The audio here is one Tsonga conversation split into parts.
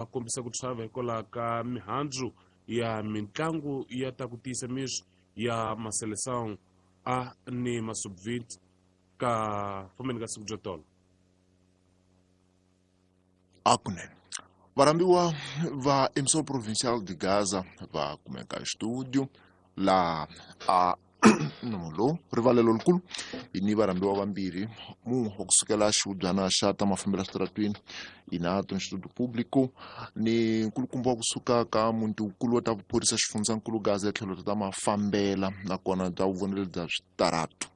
Kombisa ku chava hikwalaho ka mihandzu ya mitlangu ya ta ku tiyisa miri ya Maseleção A ni ma Sub-20 ka fambeni ka siku byo tolo. A kunene varhambiwa va Emissora Provincial de Gaza va kumeka studio laha a nomo lowu rivalelo likulu hi ni varhambiwa vambirhi, mun'we wa kusukela xihubyana xa ta mafambelo switaratwini inato Instituto Público ni nkulukumba wa kusuka ka muti wukulu wa ta vuphorisa xifundzankulu Gaza ya tlhelo ta mafambela nakona bya vuvonelo bya switaratu.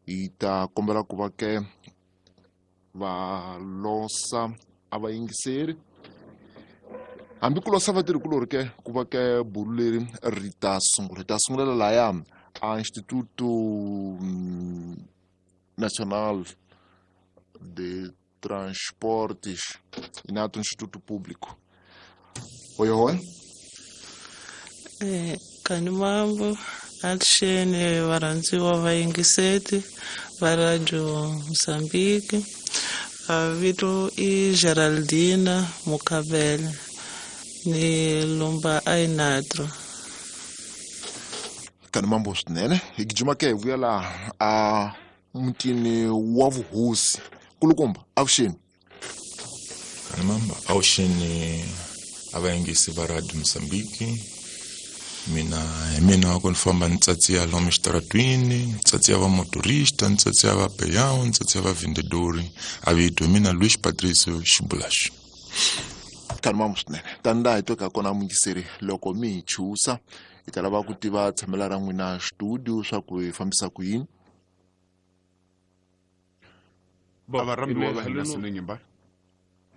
Hi ta kombela ku va ke va losa a va yingiseri hambi ku losa vatirhikulori ke ku va ke bulu leri ri ta sungula, hi ta sungulela laya a Instituto Nacional de Transportes inato Instituto Público. Oyohoe. Kanimambo aluxeni varhandziwa vayingiseti va Radio Mozambique. Vito i Geraldina Mukhabele, ni lumba Ainatro. Kanimambo swinene, hi gijima ke hi vuya laha a mutini wa vuhosi. Kulukumba, avuxeni. Kanimambo, avuxeni a vayingisi va Radio Mozambique. Mina hi mina ku ni famba ni tsatsiya lomu xitaratwini, ni tsatsiya va motorista, ni tsatsiya va peyawu, ni tsatsiya va vendedori. A vito hi mina Luis Patricio Xibulaxi. Kanimambo swinene, tani laha hi tweka kona muyingiseri, loko mi hi chusa hi ta lava ku tiva tshamela ra n'wina studio swa ku hi fambisa ku yini. Bo, A va rhambiwa ine va hina haleno- Sinenyimba.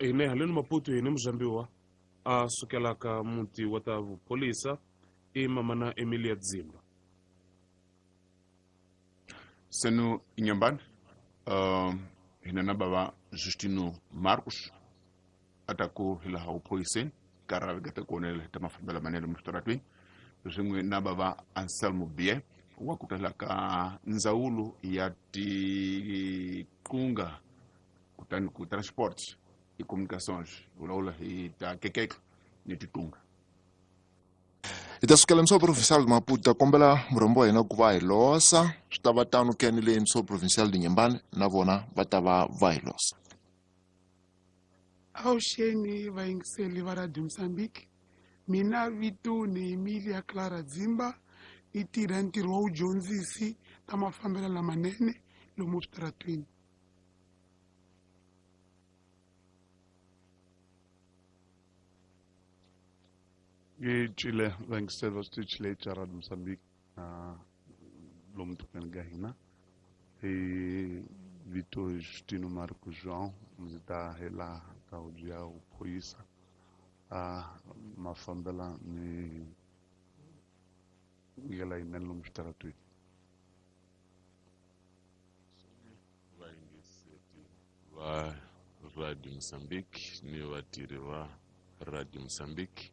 Ine haleno Maputo hi ni muzambiwa a sukelaka muti wa ta vupholisa i mamana Emilia Dzimba. Senu Inyambani, hina na bava Justino Marcos ataku hi laha vuphoriseni karhi va ta kuonela hi ta mafambelo manene mixitaratwini, swin'we na bava Anselmo Bie wa ku tala ka ndzawulo ya tiqunga kutani ku transport i communications vulavula hi ta keketlo ni tiqunga. Hi ta sukela Emissora Provincial de Maputo, ta kombela murhambi wa hina ku va hi losa. Swi ta va tano ke ni le Emissora Provincial de Inhambane na vona va ta va va hi losa. Avuxeni vayingiseli va Radio Mozambique. Mina vito ni Emilia Clara Dzimba, ni tirha ntirho wa vudyondzisi ta mafambelo lamanene lomu switaratwini. Yi cile vayingiseli va switichi leyi cha Radio Mozambique na lomu tikweni ka hina. Hi vito Justino Marco João, ndzi ta hi laha ka huvo ya vuphorisa a mafambela ni ndlela yinene lomu switaratwini. Vayingiseti va Radio Mozambique ni vatirhi va Radio Mozambique,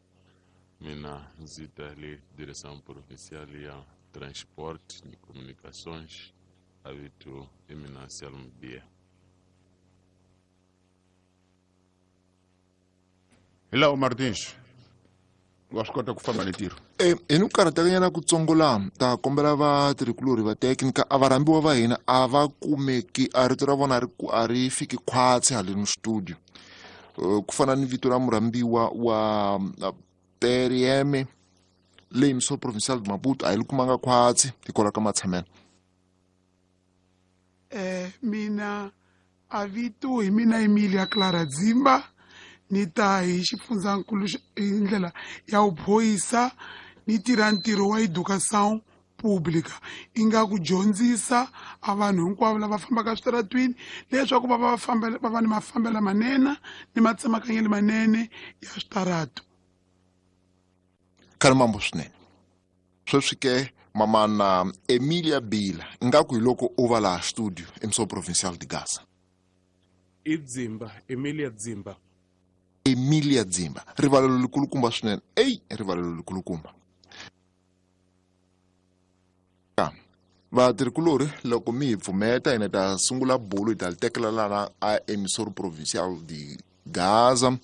mina ndzi ta le Direção Provincial ya Transport ni Comunicações, a vito i mina Anselmo Bia. Hi laha Martins wa swi kota ku famba ni ntirho. Hi ni ku karhatekanyana kutsongo laha, ta kombela vatirhikulorhi va teknika a varhambiwa va hina a va kumeki, a rito ra vona a ri fiki khwatsi haleni studio. Ku fana ni vito ra murhambiwa wa Perieme le Emissora Provincial de Maputo a hi li kumanga khwatsi hikwalaho ka matshamelo. Mina a vito hi mina Emilia Clara Dzimba, ni ta hi xifundzankulu hi ndlela ya vuphorisa, ni tirha ntirho wa educação pública, inga ku dyondzisa a vanhu hinkwavo lava fambaka switaratwini leswaku va va fambela, va va ni mafambelo manene ni matsemakanyelo manene ya switaratu. Khalimambo swinene. Sweswi ke mamana Emilia Bila, ingaku hi loko u va laha studio Emissora Provincial de Gaza. I Dzimba, Emilia Dzimba. Emilia Dzimba, rivalelo likulukumba swinene. Ey, rivalelo likulukumba. Vatirhikulorhi loko mi hi pfumeta hina ta sungula bulu hi ta li tekela lana a Emissora Provincial de Gaza.